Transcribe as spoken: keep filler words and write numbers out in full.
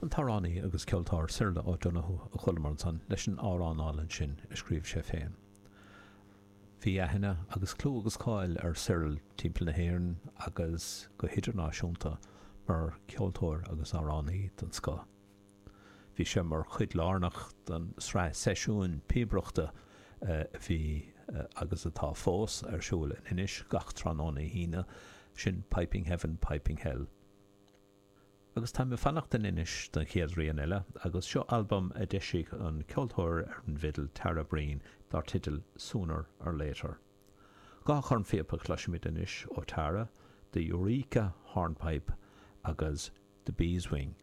An t-amhránaí agus ceoltóir Cyril O'Donoghue a chualamar ansan leis an amhrán álainn sin a scríobh sé féin. Bhí aithne agus clú agus cáil ar Cyril timpeall na hÉireann agus go hidirnáisiúnta mar cheoltóir agus amhránaí den scoth. Bhí sé mar chuid lárnach den sraith seisiúin píobaireachta a bhí agus atá fós ar siúl in Inis gach tráthnóna hAoine, sin Piping Heaven, Piping Hell. Agus táim ag fanacht in Inis don chéad rian eile, agus seo albam a d'eisigh an ceoltóir ar an bhfidil Tara Breen dar teideal Sooner or Later. Dhá chornphíopa a chloisfimid anois ó Tara, The Eureka Hornpipe agus The Beeswing.